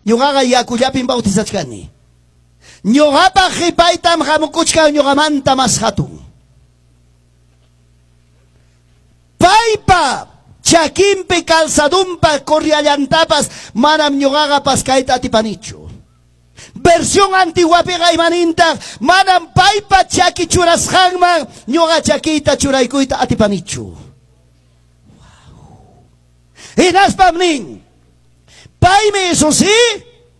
Ñuqaqa yakullapim bautizachkani. Ñuqapaq qipaytam hamukuchkan ñuqamanta mas hatun. Paypa chakinpi calzadunpa correallantapas manam ñuqaqa paskayta atipanichu. Versión antiguapiqa imanintaq manam paypa chaki churasqanman ñuqa chakiyta churaykuyta atipanichu. Hinaspam nin, paymi eso sí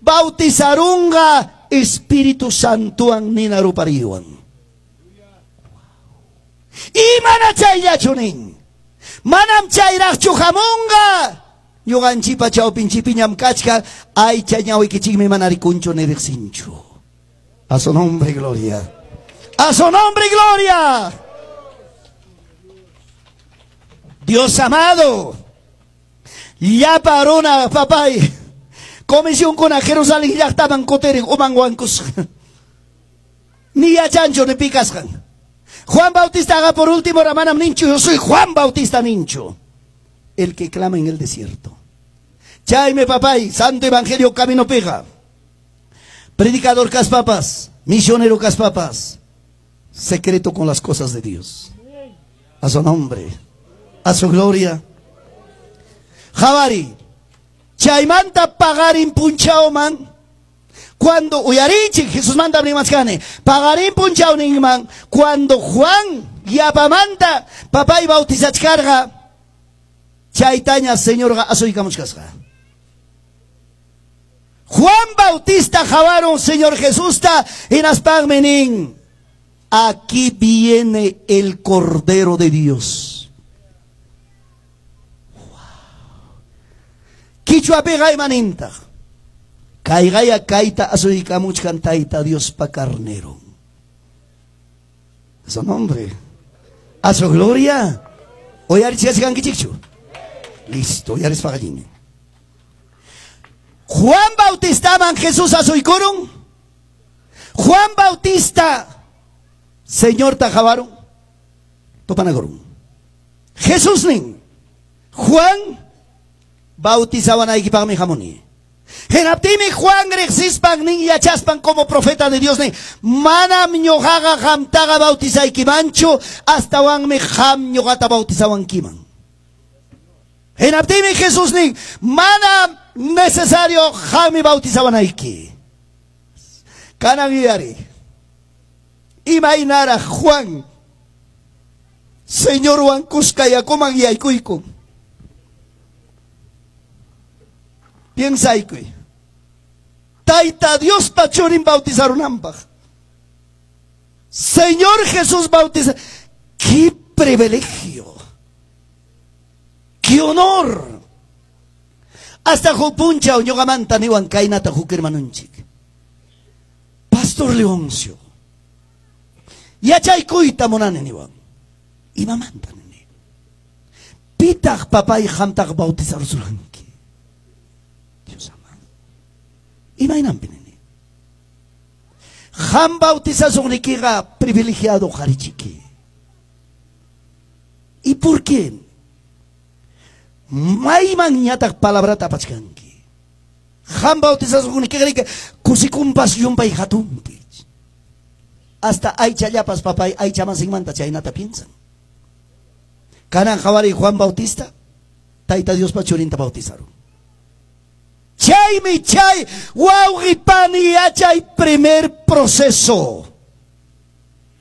bautizarunqa Espíritu Santowan nina rupariwan. Imana chayllachu nin. Manam chayraqchu hamunqa. Ñuqanchipa chawpinchipiñam kachkan aycha ñawikichikmi mana rikunchu ni riqsinchu. A su nombre gloria. A su nombre gloria. Dios amado. Llapa runa papay. Comisionkuna Jerusalén llaqtaman kutirin uman wankusqa. Ni yachanchu ni pikasqan. Juan Bautista por último manam ninchu, yo soy Juan Bautista ninchu. El que clama en el desierto. Chaymi papay, Santo Evangelio camino pega. Predicador kaspapas, misionero kaspapas. Secreto con las cosas de Dios. A su nombre, a su gloria. Qhawariy, chaymanta paqarin punchawman. Cuando uyarichik Jesusmanta rimachkani, paqarin punchawninman, cuando Juan yapamanta papay bautizachkarqa, chaytaña Señorqa asuykamuchkasqa. Juan Bautista qawarun Señor Jesusta hinaspanmi nin, aquí viene el Cordero de Dios. Wow. Qichwapiqa imanintaq. Kayqaya kayta asuykamuchkan Tayta Diospa carnero. A su nombre. A su gloria. Uyarichkachkankichikchu. Listo, uyarispaqa allinmi. Juan Bautistaman Jesús asuykurun. Juan Bautista Señorta qawarun. Tupanakurun. Jesús nin. Juan bautizawanaykipaqmi hamuni. Hinaptinmi Juan riqsispan nin yachaspan como profeta de Dios nin, manam ñuqaqa qamtaqa bautizaykimanchu, astawanmi qam ñuqata bautizawankiman. Hinaptinmi Jesús nin, manam necesario qammi bautizawanayki. Kanan yuyari. Imaynaraq Juan Señorwan kuska yakuman yaykuyku. Piensaykuy. Tayta Diospa churin bautizarunanpaq. Señor Jesús bautiza. ¡Qué privilegio! ¡Qué honor! Hasta huk punchaw ñuqamanta niwan kaynata huk hermanunchik. Pastor Leoncio. Yachaykuyta munani niwan. Imamanta nini. Pitaq papay qamtaq bautizarusurqanki. Dios amado. Imaynanpi nini. Qam bautizasuqnikiqa privilegiado qharichiki. ¿Y por qué? Mayman ñataq palabrata apachkanki. Qam bautizasuqnikiqa kusikunpas llumpay hatunpi. Hasta aychallapas papay aycha masinmanta chaynata piensan. Kanan qhawariy Juan Bautista, Tayta Diospa churinta bautizaron. Chaymi chay wawqi pani yachay primer proceso.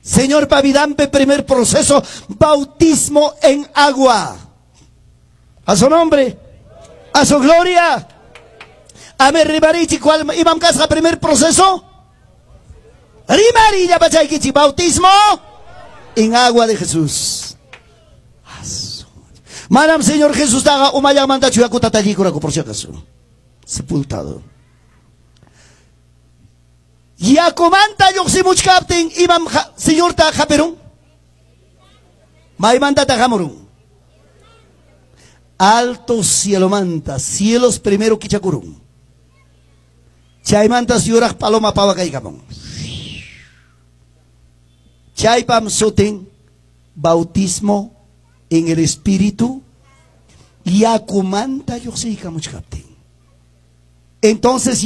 Señorpa vidanpi primer proceso, bautismo en agua. A su nombre, a su gloria. A ver, rimarichi, ¿cuál imam kasqa primer proceso? Rimari llapachaykichi, bautismo en agua de Jesús. Manam Señor Jesús taqa umallanmantachu yakuta tallikuraku por si acaso. Sepultado. Yakumanta lluqsimuchkaptin imam Señorta hapirun. Maymantata hamurun. Alto cielomanta, cielos primero kichakurun. Chaymantas yuraq paloma pawakaykamun. Chaypam sutin bautismo en el espíritu yakumanta lluqsiykamuchkaptin. Entonces